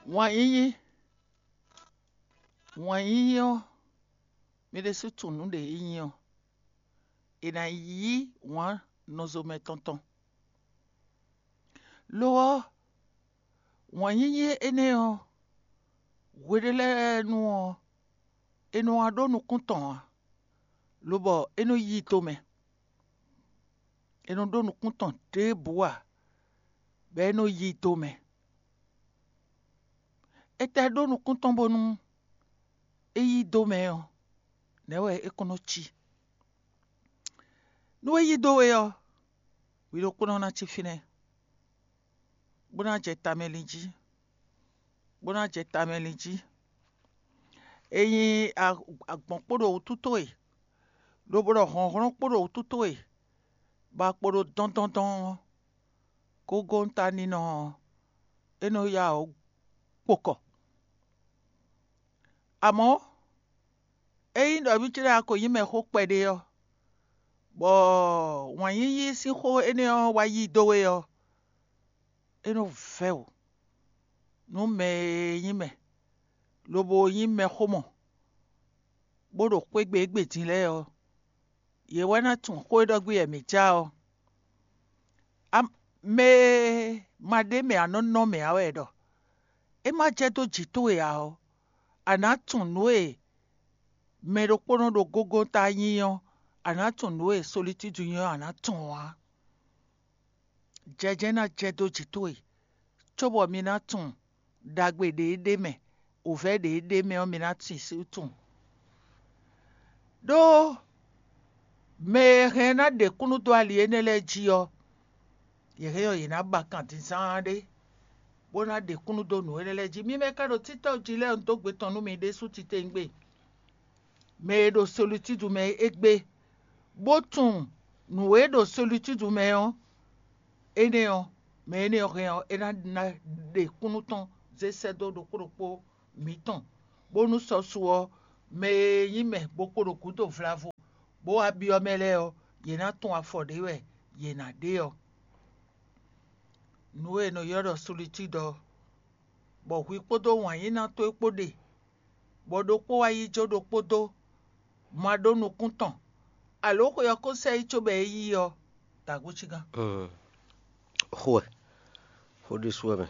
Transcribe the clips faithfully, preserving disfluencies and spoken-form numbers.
Wǎn yíyí, wǎn yíyí ɔ́, mi ɖésú tunwun nǔ ɖě é nyí ɔ́, è nǎ yí wǎn nɔzomɛ tɔn tɔn. Lo ɔ́, wǎn yíyí énɛ́ ɔ́, hwe ɖé lɛ́ɛ nu ɔ́, è nɔ wá ɖó nukún tɔn ǎ, lobɔ é nɔ yí i dó mɛ. È nɔ ɖó nukún tɔn ɖěbǔ ǎ, bɔ é nɔ yí i dó mɛ. Étɛ́ ɖó nukún tɔn bónú é yí dó mɛ ɔ́, nɛ̌ wɛ é kɔn nɔ cí? Nú é yí dó we ɔ́, hwi ɖokpónɔ ná cí fínɛ́, bó ná jɛ tamɛlin jí, bó ná jɛ tamɛlin jí. È nyi agbɔ̌n kpo ɖo wútu towe, lobo ɖɔ hlɔ̌nhlɔ́n kpo ɖo wútu towe, bɔ a kpo ɖo dɔndɔndɔn ɔ́, gógóntaninɔ ɔ́, é nɔ yá wǔ kpo kɔ. Amɔ̌, ényí ɖɔ vǐ ce lɛ́ɛ ko nyí mɛxó kpɛɖé ɔ́, bɔ wǎn yíyí sín xó énɛ́ ɔ́ wá yí dó we ɔ́, é nɔ vɛ́ wǔ nú mɛ e nyí mɛ, lobo nyí mɛxó mɔ, bó ɖo xwé gbe égbé din lɛ́ɛ ɔ́, yě wɛ ná tunwun xó e ɖɔ gbé wɛ mǐ ja ɔ́. Mɛ e ma ɖ'é mɛ ǎ nɔ nɔ mɛ ǎ wɛ ɖɔ é ma jɛ dó jǐ towe ǎ ɔ́, a nǎ tunwun nǔ e mɛ ɖokpónɔ ɖo gógóta nyí ɔ́, a nǎ tunwun nǔ e solitídu nyí ɔ́, a nǎ tunwun ǎ. Jɛjɛ ná jɛ dó jǐ towe, cóbɔ mi ná tunwun ɖagbe ɖě é ɖe mɛ, wǔvɛ́ ɖě é ɖe mɛ ɔ́, mi ná sin sí tunwun. Ɖó mɛ e hɛn ná ɖe kúnnu dó ali énɛ́ lɛ́ɛ jí ɔ́, yě hɛn ɔ́, yě ná ba kan din zán ɖé, bó ná ɖe kúnnu dó nǔ énɛ́ lɛ́ɛ jí. Mi mɛ ka ɖo títɔ́ jí lɛ́ɛ un dó gbe tɔn nú mi ɖésú titewungbe. Mɛ e ɖo solitídu mɛ é gbé, bó tunwun nǔ e ɖo solitídu mɛ ɔ́, énɛ́ ɔ́, mɛ énɛ́ ɔ́ hɛn ɔ́, é ná ná ɖe kúnnu tɔn zé sɛ́ dó ɖokpó ɖokpó mǐtɔn, bónú sɔ́ su ɔ́, mɛ e nyí mɛ bó kpo ɖo gǔdo vlavo, bó wá byɔ́ mɛ lɛ́ɛ ɔ́, yě ná tunwun afɔ ɖě wɛ yě ná ɖe ɔ́. Nǔ e è nɔ ylɔ́ ɖɔ solitúd ɔ́, bɔ hwi kpódó wǎnyíná towe kpó ɖe, bɔ ɖokpó wá yi jó ɖokpó dó, ma ɖó nukún tɔn, alǒ xwe ɔ́ ko sɛ yi cóbɔ é yí ɔ́, da gǒcígán. Xó wɛ, xó ɖésú wɛ mɛ,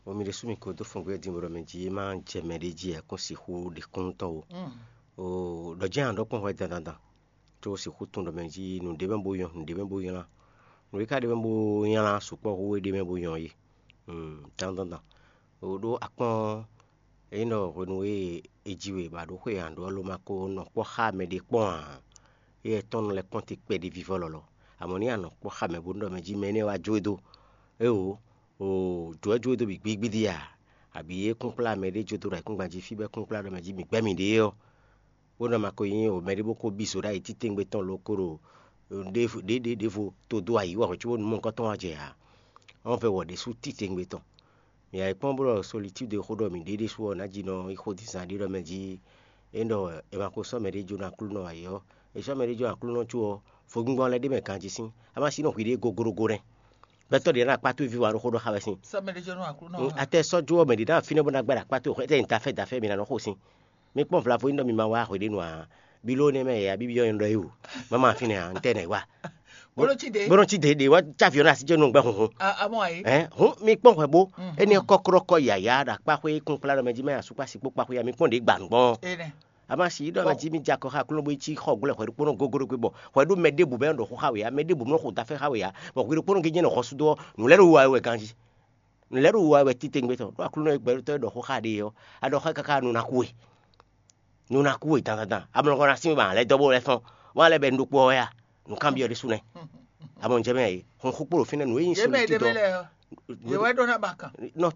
bɔ mi ɖésú mi ko dó fɔn gbé din bɔ ɖɔ mɛ jí é má jɛ mɛ ɖé jí ɛ kún sixú ɖe kúnnu tɔn o. Ɖɔ jɛ́n a ɖɔ kpɔ́n hwɛ dandandan, có sixú tunwun ɖɔ mɛ jí nǔɖé mɛ bó nyɔ́, nǔɖé mɛ bó nylá. Nǔɖé ka ɖé mɛ bó nylá sukpɔ́ hú é ɖé mɛ bó nyɔ́ é. Dandandan. O ɖó akpɔ́n ényí ɖɔ hwenu e è ji we bɔ a ɖǒ xwe ǎ ɖó ɔ́, lo ma ko nɔ kpɔ́ xá mɛɖé kpɔ́n ǎ. Éyɛ́ tɔn nɔ lɛ́ kpɔ́n te kpɛɖé vívɔ́ lɔlɔ. Amɔ̌ ní a nɔ kpɔ́ xá mɛ bónú ɖɔ mɛ jí mɛ énɛ́ wá jó e dó. Éeǒ, o jǒ wɛ jó e dó bǐ gbígbídí a? Abǐ é kún kplá mɛɖé jó dó ɖo ayǐkúngban jí fí bɔ é kún kplá ɖɔ mɛ jí mǐ gbɛ́ mǐɖée ɔ́, bó nɔ ma ko nyí o mɛɖé bó ko bí zo ɖ'ayǐ títewungbe tɔn lo ko ɖo ɖěvo ɖěvo to dó ayǐ wɛ hwɛ̌ cóbónú mɔ nukɔn tɔn wá jɛ ǎ. Ɔ́n vɛ wɔ ɖésú títewungbe tɔn. Mǐ yá yi kpɔ́n bó ɖɔ solitúd e xó ɖɔ mǐ ɖe ɖésú ɔ́, nǎ ji nɔ yi xó dín zán ɖé ɖɔ mɛ jí é ɖɔ è ma ko sɔ́ mɛɖé jó nú Aklúnɔ ǎ é ɔ́, è sɔ́ mɛɖé jó nú Aklúnɔ có ɔ́, vodúngbɔ́n lɛ́ɛ ɖ'é mɛ ganjí sín. A ma sí nɔ hwi ɖě goglogo nɛ́. Gbɛtɔ́ ɖě ná akpá towe ví wa ɖó xó ɖɔ xá wɛ sín. Sɔ́ mɛɖé jó nú Aklúnɔ. Atɛ sɔ́ jó ɔ́ mɛ ɖě ná fínɛ́ bó ná gbɛ́ ɖo akpá towe xwɛ tɛ́ nyǐta fɛ́ da fɛ́ mi ná nɔ xo sín. Mi kpɔ́n vlavo nyí ɖɔ mi ma wá hweɖénu ǎ. Bí ló nɛ́ mɛ yě abí byɔ́ nyɛ ɖɔ é o. Má ma fínɛ́ ǎ, ntɛ́ nɛ̌ wa? Bóló cí ɖe. Bóló cí ɖe ɖe wá cá aviɔn ɖo así jɛ nú gbɛ hunhun. Amɔ ayi. Hɛn, hun mi kpɔ́n hwɛ bó. Énɛ́ kɔ́klɔ́kɔ yǎyá ɖo akpá xwé kún kplá ɖɔ mɛ jí mɛ asú kpá sí kpó kpá xwé ya mi kpɔ́n ɖě gba nǔgbɔn. Énɛ́. A ma si ɖɔ mɛ jí mi jɛ akɔ xá Aklúnɔ bó yi cí xɔ glɔ́ hwɛ ɖokpónɔ gogó ɖokpé bɔ hwɛ ɖó mɛ ɖěbǔ mɛ ɖɔ xó xá we ǎ, mɛ ɖěbǔ nɔ xo dafɛ xá we ǎ, bɔ hwi ɖokpónɔ gé jɛ nɔ xɔsúdó ɔ́, nǔ lɛ́ ɖo wa wɛ ganjí. Nǔ lɛ́ ɖo wa wɛ titewungbe tɔn, ɖó Aklúnɔ e gbɛtɔ́ e ɖɔ xó xá ɖe ɔ́, a ɖɔ xá káká nú ná kú we. Nú ná kú we dandandan, amlɔ kɔ ná sín we ma lɛ́ dɔ́ bó lɛ́ fɔ́n, wá lɛ́ bɛ nú ɖokpó ɔ́ wɛ a? Nǔkanbyɔ́ ɖésú nɛ́. Amɔ un jɛ mɛ e, hun xú kpó ɖo fínɛ́ nǔ e nyí Yě mɛ ɖé mɛ lɛ́ɛ ɔ́, yě wɛ ɖó ná ba kan. Nɔ,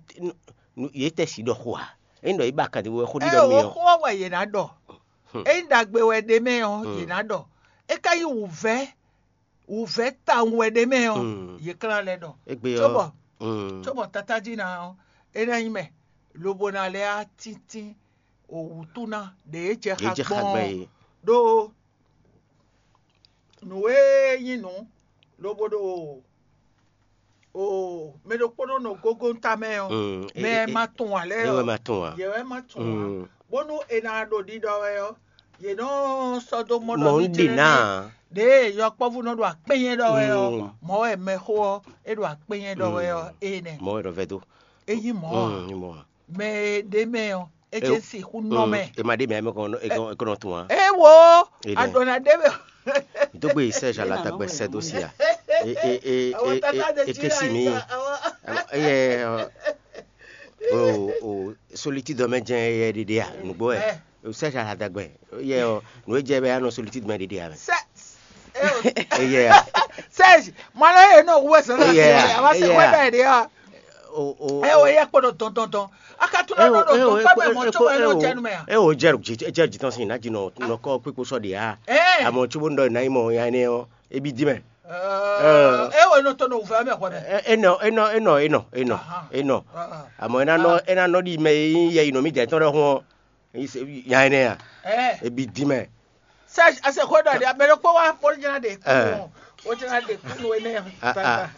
yě tɛ si ɖɔ xó a? Ényí ɖɔ yě ba kan ɖé wɛ xó ɖiɖɔ mi ɔ́. Xó ɔ́ wɛ yě ná ɖɔ. Ényí ɖagbe wɛ ɖé mɛ ɔ́, yě ná ɖɔ. É ka nyí wǔvɛ́, wǔvɛ́ tawun wɛ ɖé mɛ ɔ́, yě klán lɛ́ ɖɔ. Égbé ɔ́, cóbɔ, cóbɔ tatájí ná ɔ́, é ná nyí mɛ, lobo ná lɛ́ á tíntín wǔtú ná ɖě é jɛ xá gbɔn ɔ́. Ɖó nǔ e nyí nǔ, lobo ɖo O mɛ ɖokpónɔ nɔ gógónta mɛ ɔ́, Mm, e- mɛ e- ma tunwun ǎ lɛ́ɛ e wɛ ɔ́, ma tunwun ǎ. Yě wɛ ma tunwun ǎ. Mm. Bónú è nǎ ɖo ɖiɖɔ wɛ ɔ́, yě nɔ sɔ́ dó mɔ ɖɔ Mɔ nú un ɖe ɖi ná. Ɖě yɔkpɔ́vú nɔ ɖo akpɛ́nyɛ ɖɔ wɛ ɔ́, Mm. Mɔ̌ wɛ mɛxó ɔ́ é ɖo akpɛ́nyɛ ɖɔ wɛ ɔ́, Mm. Énɛ́. Mɔ̌ wɛ ɖɔ vɛ́ dó. É nyí mɔ̌ ǎ. Mm, nyí mɔ̌ ǎ. Mɛ e ɖ'é mɛ ɔ́, é ce sixú nɔ mɛ. E ma ɖe mɛ mɛ kɔn e kɔn e kɔn tun wa. É wo Ele. Aɖɔna ɖé mɛ. Dógbe Serge alatagbɛ sɛ dó si a. E e e Àwọn e tata de e e kesi mi. Àwọn Eyɛ o o solitude mɛ jɛn yɛ ɖiɖi a nugbo ɛ. Serge alatagbɛ yɛ o nu e jɛ bɛ anɔ solitude mɛ ɖiɖi a mɛ. Sɛ Eyɛ a. Serge, mwana ye nɔ wu wɛ sɔn na Eyɛ a, a wa se eyɛ wɛ a. Bɛ de a. O o E o ye kpo ɖo dɔndɔndɔn. A ka tún nɔ ɖɔ ɖo dɔn kpɛkpɛ mɔ tso wɛ nɔ jɛ nu mɛ a. E o jɛ jɛ jitɔn sin na jinɔ nɔ kɔ kpikpo sɔ de a. Ɛ. Amɔ tso bo nɔ na yi mɔ ya ne ɔ ebi di mɛ. Ɛ o nɔ tɔ nɔ wufɛ mɛ xɔ mɛ. Enɔ enɔ enɔ enɔ enɔ enɔ. Amɔ ena nɔ ena nɔ di mɛ yi yɛ yi nɔ mi jɛ tɔn ɖe hun ɔ. Nya ne a. Ɛ. Ebi di mɛ. Serge, ase xó ɖɔ ɖi amɛ ɖokpó wá bó jɛ́n ɖe kú. Ɛ. Bó jɛ́n ɖe kú nú énɛ́. Ah, ah.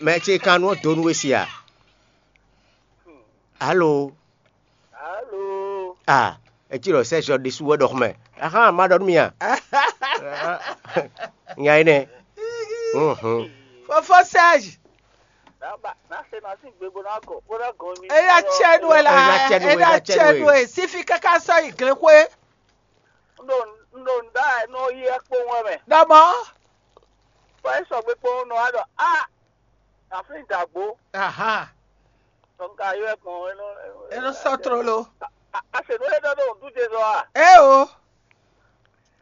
Mɛ ce kan nú donu we si a. Alo. Alo. Ah, etí lɔ Serge ɖésú wɛ ɖɔ xɔmɛ. Ahan, ma ɖɔ nú mi a. Nya énɛ́. Mhm. Fofo Serge. Naba na se na sin gbe bó ná gɔ bó ná gɔ mi. Eya cɛ nu ela. Eya cɛ nu ela. Cɛ nu e sifi kaka sɔ yi glexwe. Un ɖo un ɖo nǔ ɖa wɛ nú ó yi ɛkpowun wɛ mɛ. Ɖɔmɔ. Bɔ é sɔgbe kpowun nɔ wá ɖɔ á, aflín dǎgbó. Aha. Ɖɔ un ka ylɔ́ ɛ gbɔn é nɔ É nɔ sɔ́ tlóló. A se nú é ɖɔ ɖo nǔɖuɖu zɔ a? É o.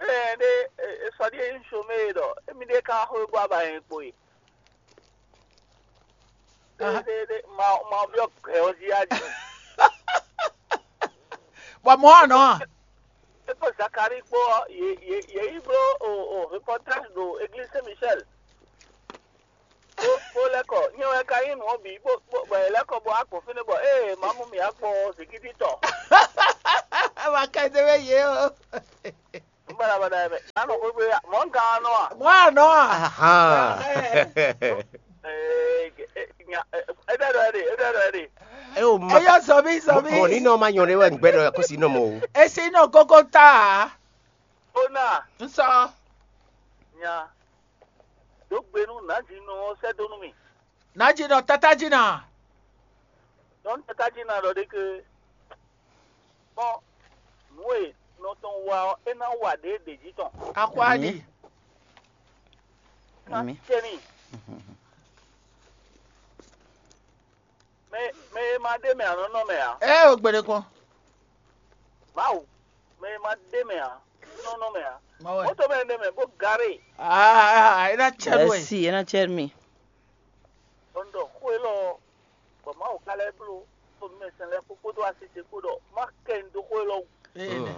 Ée ɖé è sɔ ɖíe nyí somée ɖɔ émí ɖée ka xwé gbɔ aba nyɛ kpo e. Ɖé ɖé ɖé ma ma byɔ́ gɛ̌ ɔ́ jí a jí. Bɔ mɔ̌ ɔ́ nɔ. É kpó Zakalíi kpó ɔ́, yě yě yě yi bló o o reportage ɖo église Saint Michel. Bó bó lɛ́ kɔ, nyɛ wɛ ka nyí nǔ ɔ́ bǐ bó bó bɔ yě lɛ́ kɔ bó wá gbɔn fínɛ́ bɔ ée Mamu mǐ wá kpɔ́n ɔ́, zǐngídi tɔ. Ava ka ɛ dó wɛ yě o. Nǔ baɖabaɖa wɛ mɛ. Anɔ xwé gbe mɔ̌ un ka nɔ a? Mɔ̌ a nɔ a? Ahan. Ee, nya- ee, é ɖɔ ɖɔ é ɖe, é ɖɔ ɖɔ é ɖe. Eo ma Eyɔ zɔmi zɔmi. Mɔ ní nɔ ma nyɔ ɖe wɛ gbɛ ɖɔ kó si nɔ mɔ o. Esi nɔ kókó ta a? Ó nà N sɔ. Nya. Dǒ gbe nú nǎjínɔ ɔ́ sɛ́ dó nú mì. Nǎjínɔ tátájínɔ. Nyɔ̌nu tátájínɔ ɖɔ ɖé ké. Kpɔ́n nǔ e nɔ tɔn wa ɔ́, é ná wa ɖě ɖě jí tɔn. Axwá ɖi. Ná Amǐ. Cɛ n'i. Mɛ mɛ e ma ɖ'é mɛ ǎ nɔ nɔ mɛ ǎ. Ɛ o gbɛɖe kɔn. Mawu, mɛ e ma ɖ'é mɛ ǎ nɔ nɔ mɛ ǎ. Mawu. Mɔtɔ mɛ ɖ'é mɛ bó garé. Aa, ɛ ná cɛ nú ɛ. Esi, ena cɛ mi. Bɔ un ɖɔ xó élɔ́ ɔ́, bɔ Mawu ka lɛ́ bló xó nú mɛ sɛn lɛ́ɛ kpó kpódó asise kpó ɖɔ má kɛ un dó xó élɔ́ wú. Ee.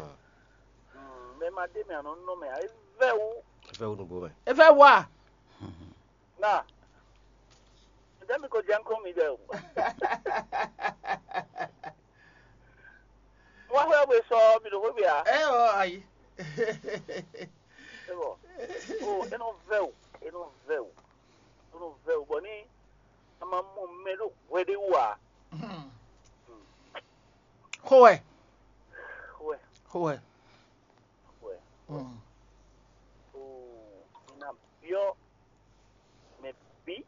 Mm, mɛ ma ɖ'é mɛ ǎ nɔ nɔ mɛ ǎ, é vɛ́ wú. É vɛ́ wú nǔgbó mɛ. É vɛ́ wú a? Na. Ǹjẹ́ mi ko jẹ́ ń kó mi ɖɛ o? Wọ́n fẹ́ wé sọ mi ɖo xwé bia. Ɛ ɔ ayi. Ebo. O, e nɔ vɛ o, e nɔ vɛ o, e nɔ vɛ o. Bɔ ní a ma mɔ mɛ ɖo hwɛ ɖé wú a? Xó wɛ. Wɛ. Xó wɛ. Wɛ. Mm. O, mi na biɔ mɛ bi,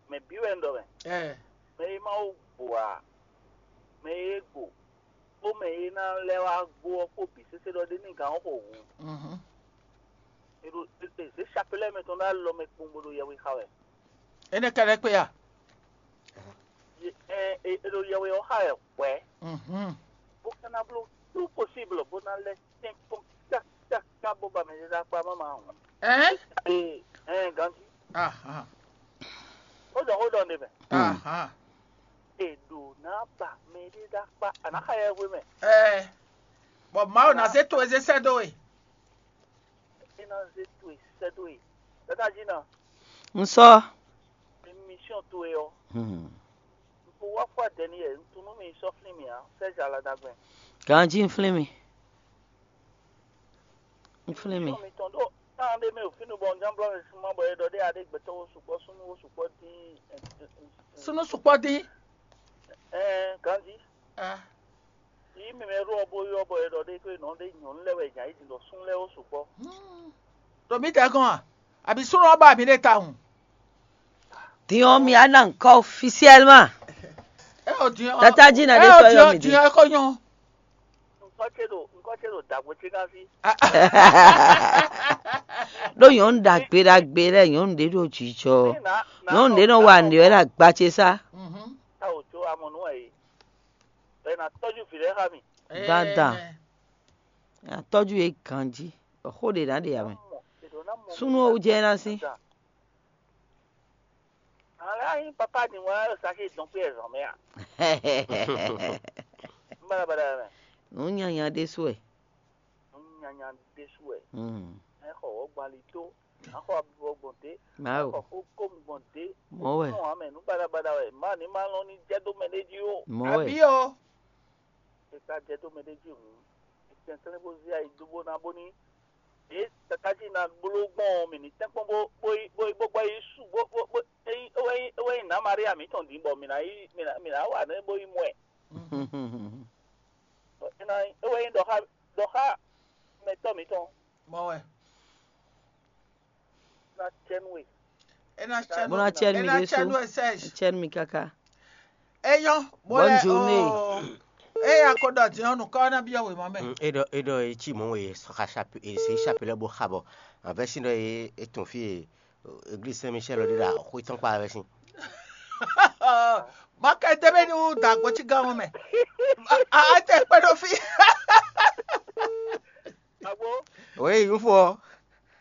mɛ bi wɛ un ɖɔ mɛ. Ɛ. Mɛ e ma wo gbo a, mɛ e gbo, kpó mɛ e ná lɛ́ wá gbo ɔ́ kpó bǐ sésé ɖɔ ɖé ní gǎn ɔ́ xo hǔn. Mhm. E ɖo e zě chapelɛ mɛ tɔn ɖó alɔ mɛ kpowun bó ɖo yɛhwe xa wɛ. Énɛ́ ka lɛ́ kpé a? Ye- ɛ- e- E ɖo yɛhwe ɔ́ xa wɛ hwɛ̌. Mhm. Bó ka ná bló tout possible bó ná lɛ́ tɛ́n kpɔ́n kákáká bó ba mɛ ɖé ɖó akpá má ma hǔn. Ɛn? Ee, ɛn ganjí. Aha. Ó ɖɔ xó ɖɔ nde mɛ. Aha. È ɖǒ ná ba mɛ ɖé ɖó akpá, a nǎ xa yɛhwe mɛ. Ɛ. Bɔ Mawu ná zé to e zé sɛ́ dó we. É ná zé towe sɛ́ dó e. Tata jí ná, Un sɔ. Émission towe ɔ́, Hmm. Un ko wá fɔ Daniel, un tunú mi sɔ́ flín mì ǎ, Serge Aladagbɛn. Ganjí un flín mi. Un flín mi. Émission mitɔn ɖó Kan ɖé mɛ o fínú bɔ un ján blɔ́ mɛ súnmọ́ bɔ é ɖɔ ɖé aɖé gbɛtɔ́ wo sukpɔ́ súnú wo sukpɔ́ dín. Súnú sukpɔ́ dín. Ɛɛ ganjí. Ah. Yí mi mɛ ɖó ɔ́ bó ylɔ́ bɔ é ɖɔ ɖé xwé nɔ ɖé nyɔ̌nu lɛ́ɛ wɛ nya yí din ɖɔ sún lɛ́ɛ wo sukpɔ́. Ɖo mǐ tɛ́ gɔ́n a? Àbí súnú ɔ́ ba mǐ ɖe tawun? Din ɔ́, mi á ná ŋkɔ officiellement. É ɔ din ɔ́. Tata jí na É ɖe ɔ sɔ din yɔ ɔ́ mi din din. Ɔ́ é kó nyɔ́. Ŋkɔ ce ɖo ŋkɔ ce ɖo dǎgbó ce gán sí. Ɖó nyɔ̌nu ɖagbe ɖagbe lɛ́ɛ, nyɔ̌nu ɖé ɖo jijɔ. Ní nà nà Nyɔ̌nu ɖé nɔ wa nǔɖé wɛ ɖo agba ce sá. Mhm. Tá wò tso amɔ nú ɛ yìí. Bɛ na tɔ́jú vǐ lɛ́ɛ xá mi. Gbada. Atɔ́jú yě ganjí. Xó ɖě ná ɖe ame. Súnú owó jẹ́ ná sí. Alɛ ayi papa ni wa sa ke dɔn pe ɛzɔn mɛ a. N bala bala mɛ. Nǔ nyanya ɖésú ɛ. N nyanya ɖésú ɛ. Mm. Ɛ xɔ wɔ gbali tó. Axɔ abibɔ gbɔn té. Mawu. Axɔ kókó gbɔn té. Mɔ̌ wɛ. Nɔ amɛ nú bala bala wɛ. Má ni má lɔn ní jɛ dó mɛ ɖé jí o. Mɔ̌ wɛ. Àbí o. Eka jɛ dó mɛ ɖé jí hǔn. Etɛn sɛnɛ bó zí ayi dó bó ná bó ní. Ě tata jí na gbló gbɔn mì ní tɛ́nkpɔ́n bó bó yi bó yi bó gbɔ yi su bó bó bó eyi ewé yi ewé yi nǎ Maria mǐtɔn dín bɔ mǐ ná yi mǐ ná mǐ ná wa nɛ́ bó yi mɔ ɛ. Ewé yi ɖɔ xá ɖɔ xá mɛtɔ́ mǐtɔn. Mɔ̌ wɛ. Ná cɛ nú we. É ná cɛ Bó ná cɛ é mi ná ɖé cɛ sú. nú ɛ sɛ́j. Cɛ mi káká. É nyɔ́. Bó Bonne lɛ journée. o. É ya ko ɖɔ din ɔ́ nukɔ ɔ́ ná byɔ́ wěma mɛ. Mm, e ɖɔ e ɖɔ e cí mɔ̌ e xɔ xaṣape e se xape lɛ́ɛ bó xa bɔ avɛ́sín ɖɔ e e tun fí e église Saint Michel ɔ́ ɖe ɖo axwé tɔn kpá avɛ́sín. Má kɛ dé bɛ ní wú dǎgbó cí gán mɛ. A a tɛ kpɛ ɖo fí. Agbo Oui, un fɔ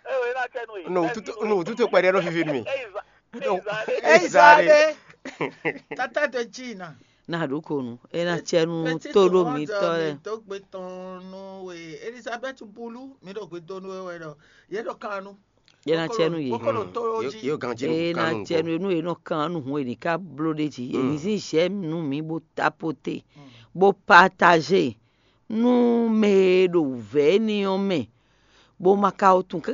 ewé ná cɛ nú we. nu tutu nu tutu kpɛɖɛ ɖo fifi nú mi. Eyi za eyi za ɖe. Eyi za ɖe. Tata de dzi na. Na ɖo ko nu. E na cɛ nu to ɖo mi tɔ lɛ. Tó gbe tɔn nú we Elizabeth bulu mi ɖo gbe dó nú we wɛ ɖɔ yɛ ɖɔ kan nu. E na cɛ nu ye. Bokolo to yó Yo dzi. yo ganji E nu na kanu cɛ nu nu e nɔ kan nu hun e ní ká bló ɖe jí. E ní zin zɛ nu mi bó tapote bó partager nu mɛ e ɖo vɛ ni ɔ́ mɛ bó ma ka o tun kaka